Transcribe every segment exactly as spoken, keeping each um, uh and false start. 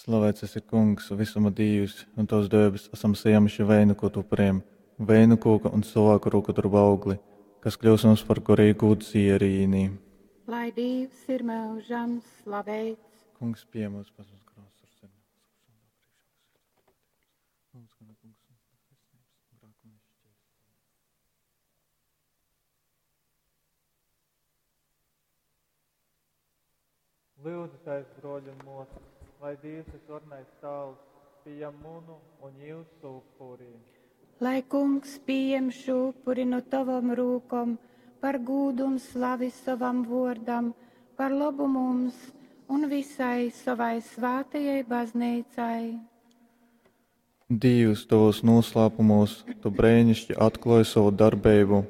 Slavēts esi, Kungs, visuma Dīvs, un Tavs dēvis esam saņēmuši veinu upuriem, veinu kūka un cilvēku rūku darbu augli, kas kļūs mums par garīgu dzierīni. Lai Dīvs ir mūžam slaveits. Kungs, pie mums, pats mums grāvs ar sevi. Lūdzu, tais, broļi un mosas, lai Dievs visvarenais Tāvs pieņem munu un jūsu upuri. Lai Kungs pieņem šo upuri no tavam rūkom par gūdu un slavi savam vārdam, par labu mums un visai savai svātajai baznīcai. Dievs, tavos noslēpumos tu brēnišķi atklāji savu darbību.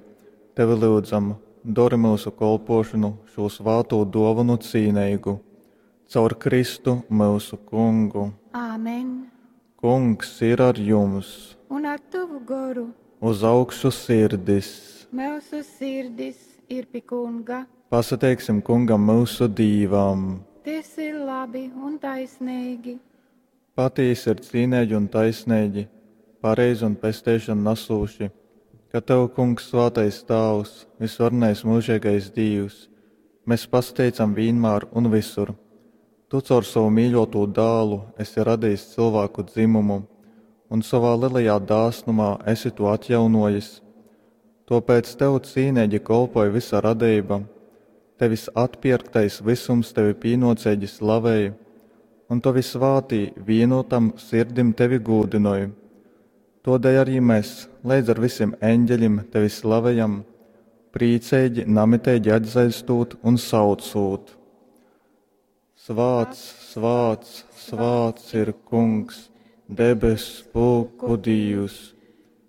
Tevi lūdzam, dori mūsu kolpošanu šo svāto dāvanu cīnīgu. Caur Kristu mūsu kungu. Āmen. Kungs ir ar jums. Un ar tavu goru. Uz augšu sirdis. Mūsu sirdis ir pie kunga. Pasateiksim kungam mūsu dīvam. Tas ir labi un taisnīgi. Patīsi ir cīnīgi un taisnīgi, pareizi un pesteišanu nesūši, ka tev, kungs, svātais Tāvs, visvarenais mūžīgais Dīvs, mēs pasteicam vienmēr un visur. Tu caur savu mīļoto dēlu esi radījis cilvēku dzimumu, un savā lielajā dāsnumā esi to atjaunojis. Tāpēc tev cīnīgi kolpoja visa radība, tevis atpirktais visums tevi pīnocīgi slavēja, un tavi svātī vienotam sirdim tevi gūdinoja. Todēļ arī mēs, līdz ar visiem eņģeļiem, tevi slavējam, priecīgi, namitīgi atzaistot un saucot. Svāts, svāts, svāts ir Kungs, debes pulku Dievs,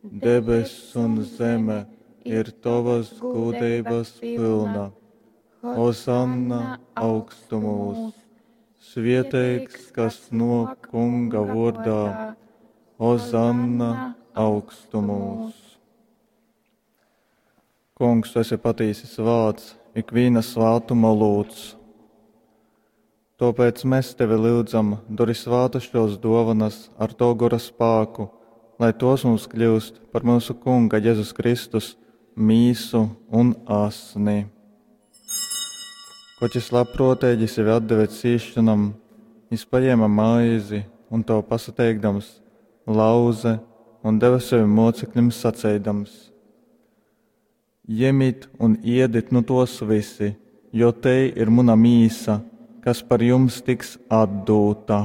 debes un zeme ir tavas gudrības pilna. Hosanna augstumos, svieteigs, kas no Kunga vārdā. Hosanna augstumos. Kungs, tu esi patīsi svāts, ikviena svātuma lūdz. Tāpēc mēs tevi lūdzam, dori svātas šos dovanas ar to gora spēku, lai tos mums kļūst par mūsu Kunga Jēzus Kristus mīsu un asni. Koķis labprātīgi sevi atdeva cīšanam, viņš paņēma maizi un to pasateikdams, lauze un deva saviem mocekļiem sacēdams: Jemit un iedit nu tos visi, jo te ir muna mīsa, kas par jums tiks atdūta.